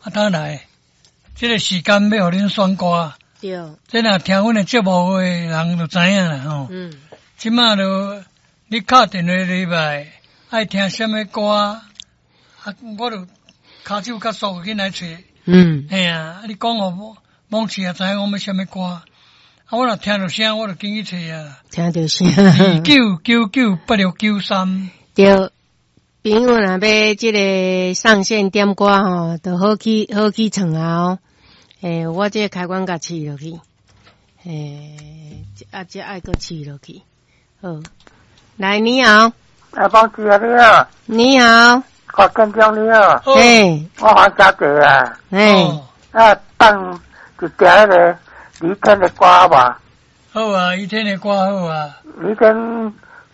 啊，當來，這個時間欲予恁選歌。這若聽阮的節目的人就知影啦吼。這馬就你敲電話入來，愛聽啥物歌，啊，我就跤手較速緊來揣。嘿啊，啊你講予網市也知影講欲啥物歌，啊，我若聽著聲，我就緊去揣啊。聽著聲。29998693。對，朋友若欲這个上線點歌吼，就好去唱啊哦。欸，我這个開關共試落去，欸，啊，這愛閣試落去。好，來，你好。哎，邦姐你好。你好。我跟長你好。嘿。我黃小姐啊。嘿。啊，放一條彼个李天的歌吧。好啊，李天的歌好啊。李天，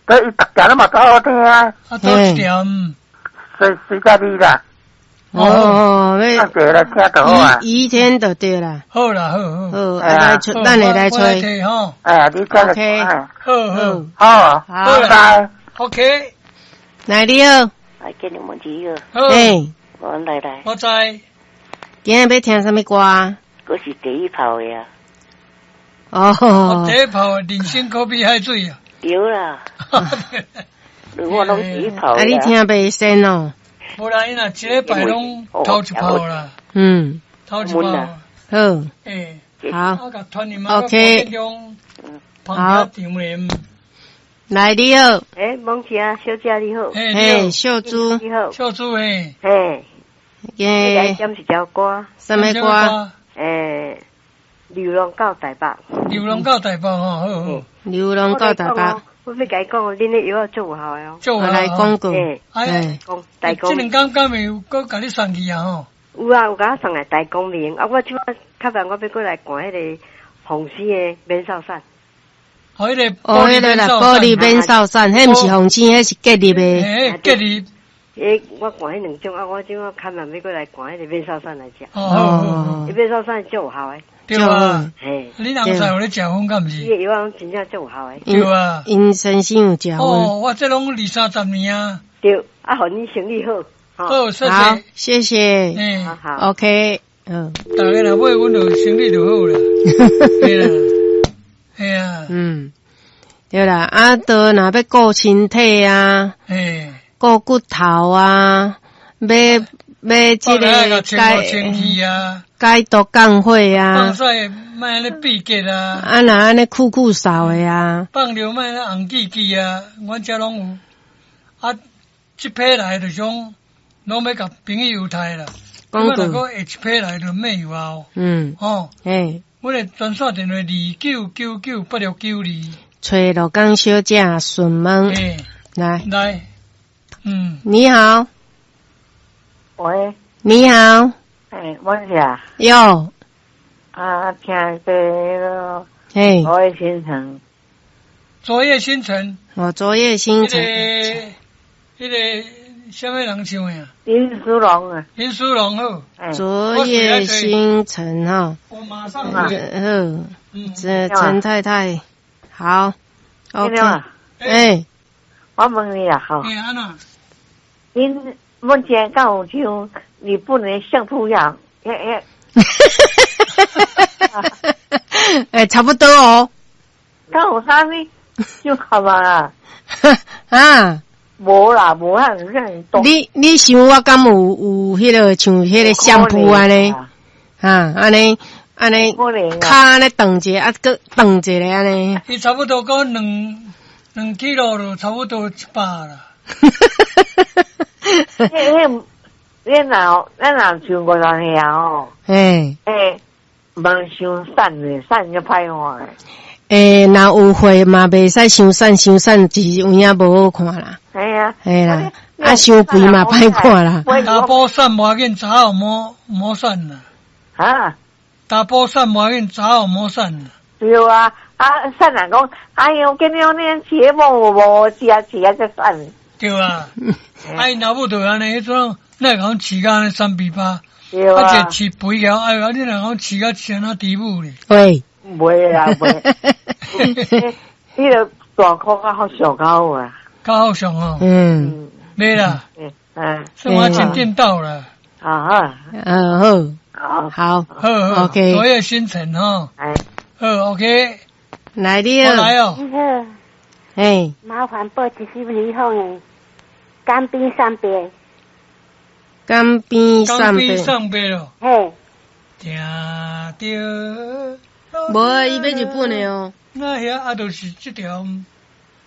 對，伊逐條攏嘛足好聽啊。啊，佗一條？隨隨甲你啦。哦，欲來聽就好啊。于天就對啦。好啦，好好。好，啊來揣，咱會來揣。吼。哎，你聽 OK。好好。好，好，拜拜。 OK。來，你好。來，見你們幾個。好。欸。我來來。我知。今日欲聽啥物歌？閣是第一炮的啊。哦。我第一炮人生可比海水啊。對啦。我攏第一炮。啊，你聽袂先哦？無啦，伊若一禮拜攏頭一炮啦。頭一炮。好。欸。好。 OK。好。來，你好。欸，蒙姐啊，小姐你好。嘿，秀珠。你好。秀珠嘿。嘿。耶。來點一條歌。啥物歌？欸，流浪到台北。流浪到台北吼，好好。流浪到台北。我欲共伊講，恁的藥仔足有效的哦。足有效。來講過。哎，講大這兩工敢會有閣共你送去啊吼？有啊，有共我送來大光明啊！我這擺較慢，我欲閣來看彼个紅星的免掃散。哦，彼个哦，彼个啦，玻璃免掃散，彼毋是紅星，彼是結入的。欸，結入。欸，我看彼兩種啊，我這擺較慢欲閣來看彼个免掃散來食。哦，彼免掃散足有效的。對啊。嘿。你翁婿有咧食薰敢毋是？伊的藥仔攏真正足有效的。對啊。𪜶先生有食薰。哦，我這攏二三十年啊。對，啊，予你生意好。好，謝謝。好，謝謝。嗯，好好。 OK，嗯。逐家若買阮就生意就好啦。對啦。嘿啊。嗯，對啦，啊，都若欲顧身體啊，嘿，顧骨頭啊，欲欲這个解清氣啊，解毒降火啊，放屎莫按呢秘結啊，啊若按呢酷酷掃的啊，放尿莫按呢紅記記啊，阮遮攏有。啊，這批來就是講，攏欲共朋友刣啦。講過。若閣下一批來就免有啊。吼。嘿。阮的專線電話29998692。揣鹿港小姐順問。欸。來。來。嗯。你好。喂。你好。欸，我是啊。喲。啊，聽這个。嘿。昨夜星辰。昨夜星辰。哦，昨夜星辰。彼个啥物人唱的啊？林淑龍啊。林淑龍好。昨夜星辰哈。我馬上好。這陳太太，好。OK。欸。我問你啊，吼。欸，按怎？恁目前敢有唱？你不能像兔樣，欸欸。欸，差不多哦。敢有啥物？就好嘛。啊。無啦，無遐爾多。你想我敢有有彼个像彼个相撲按呢？啊，按呢按呢，跤按呢斷一个，啊，閣斷一个按呢。伊差不多講兩 kilo 就差不多100啦。彼彼，你若咱若像五十歲哦。嘿。欸，毋傷瘦咧，瘦就歹看。欸，若有血嘛，袂使傷瘦，傷瘦是有影無好看啦。嘿啊。嘿啦，啊，傷肥嘛歹看啦。查埔瘦無要緊，查某莫莫瘦啦。啊？查埔瘦無要緊，查某莫瘦啦。對啊，啊，瘦人講，哎喲，今日你節目無食食才瘦。對啊，啊，𪜶老母就按呢，彼陣哪會講飼甲按呢三比八？對啊。啊，一個飼肥了，哎呦，啊，你若講飼甲像那豬母咧？喂。袂啦，袂。彼个大箍較好上較好啊。較好上哦。嗯。袂啦。嗯。算我真顛倒啦。啊，嗯，好，好，好，好好 OK 昨夜星辰吼，哎，好，OK，來你我來哦，哦，你好，嘿，麻煩報一首李鳳的《江邊送別》。江邊江送邊別，送別咯，嘿，聽著，無啊，伊欲日本的哦。那遐啊，就是這條，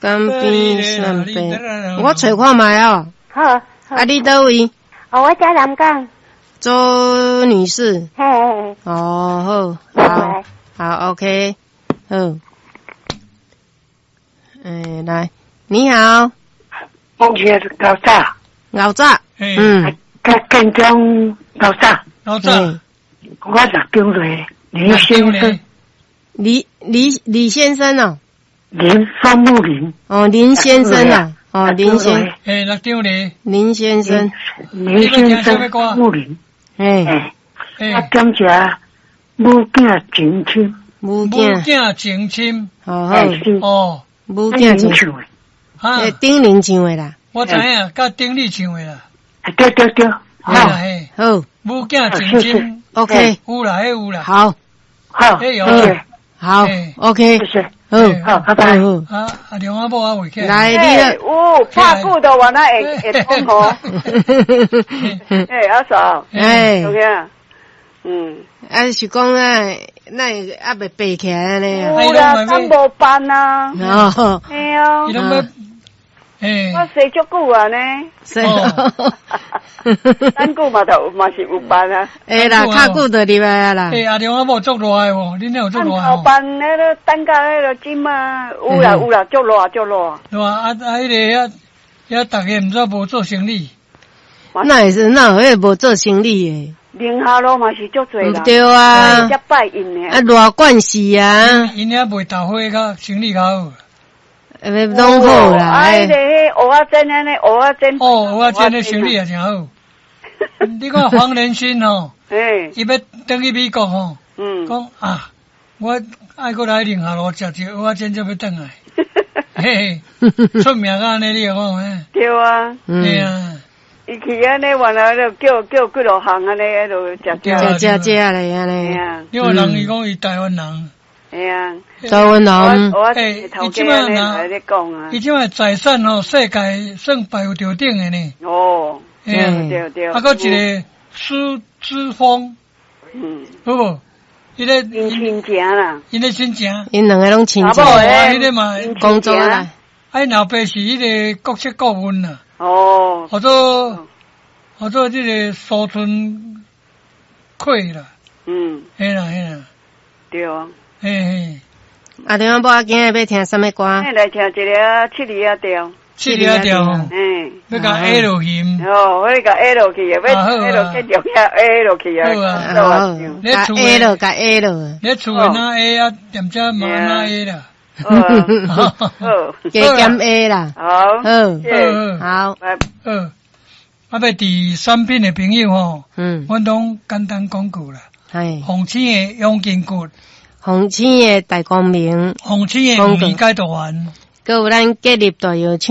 江邊送別，我揣看覓哦。好，好啊，你佗位？哦，我在南港。周女士。嘿嘿，哦，好，好，好，OK，好。哎，來，你好，我是老早，老早，嘿，嗯，甲建中老早，老早，我六张来，林先生，李先生哦，林双木林，哦，林先生啊，哦，林先，嘿，六张咧，林先生，林先生木林，哎，哎，嘿啊，，感谢母囝情深，母母囝，囝情深，好好，哎是，哦，母囝恁唱的，哈欸，丁玲唱的啦，我知影，佮丁力唱的啦，对对对，嘿啦好，嘿，好母囝情深，，OK，有啦，彼有啦，好，好，哎有谢谢，好嘿，OK，谢谢，好，好，拜拜。好，啊，阿龙阿某啊，围起来，来，你嘿有拍久都原来会会讲吼。嘿，阿嫂，哎有，影？嗯，啊是讲啊，那会犹未爬起来按呢啊？有啦，咱无办啊。哦，嘿啊伊，拢欲，嘿，我踅足久啊呢，是，咱久嘛就嘛是有办啊。会啦，较久就入来啊啦。欸，阿龙阿某足热的哦，恁那有足咱热的哦？头办那个等到彼个这马有啦有啦，足热足热。对啊，啊啊，彼个遐遐逐家毋知无做生理，那会是那有彼个无做生理的？宁夏路嘛是足济人，对啊才拜𪜶的。啊，热惯势啊，𪜶遐卖豆花较生理较好。欸，拢好啦。啊，彼个蚵仔煎按呢，蚵仔煎。哦，蚵仔煎的生理也真好。你看黄连心吼，嘿，伊欲转去美国吼，讲啊，我爱阁来宁夏路食一个蚵仔煎才欲转来，嘿嘿，出名到按呢，你会讲嘿？对啊。对啊。伊去按呢，原来就叫叫几落项按呢，彼落食食食食咧按呢。你看人伊讲伊台湾人。嘿啊。台湾人。我欸，头伊这摆家按呢来咧讲啊。伊这摆财产吼，世界算排有头顶的呢。哦。嘿啊对对。啊，阁一个施之峰。好无？伊咧。𪜶亲情啦。𪜶咧亲情。𪜶两个拢亲情。彼个嘛。工作啦。啊，𪜶老爸是彼个国策顾问啦。哦。号做这个苏春奎啦。嘿啦嘿啦。对啊。嘿嘿。阿龙仔某啊，今日欲听啥物歌？来听一个七里仔调。七里仔调。嗯。欲共 A 落去。哦，欲共 A 落去的，欲 A 落继续遐 A 落去啊。好，共 A 落，共 A 落。你厝的哪 A 啊？踮遮嘛哪 A 啦？好，加减 A 啦。好，好，好，好。啊，欲伫产品的朋友吼，阮拢简单讲句啦。系。凤青的养筋骨，凤青的大光明，凤青的黄米解毒丸，阁有咱建立大药厂。